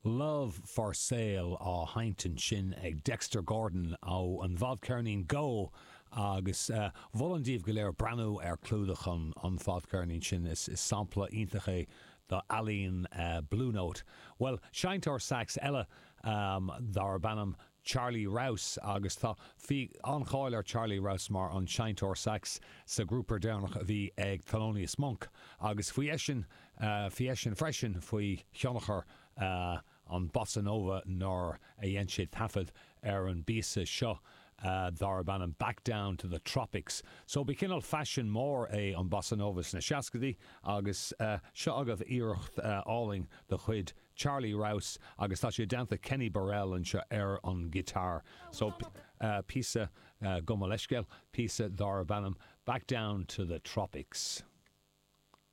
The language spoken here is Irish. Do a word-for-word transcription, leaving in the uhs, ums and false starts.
Love for Sale á sheinnt ansin ag Dexter Gordon ó an bhfadcheirnín Go agus uh, mholfainn daoibh go léir breathnú ar chlúdach an an fadcheirnín sin is, is sampla iontach é d'ealaín uh, Blue Note. Well, seinnteoir sax eile um, darb ainm Charlie Rouse agus tá bhí an-cháil ar Charlie Rouse mar an seinnteoir sax sa grúpa deireanach a bhí ag Thelonious Monk agus bhí eisean uh, bhí eisean freisin faoi thionchar uh, an bossa nova nuair a dhein sé taifead ar an bpíosa seo. Uh, darb ainm back down to the tropics. So bhí cineál faisean mór é an bossa nova sna seascaidí agus uh, seo agaibh iarracht uh, álainn de chuid Charlie Rouse agus tá sé déanta Kenny Burrell anseo ar an guitar. So uh, píosa uh, gabh mo leithscéal, píosa darb ainm back down to the tropics.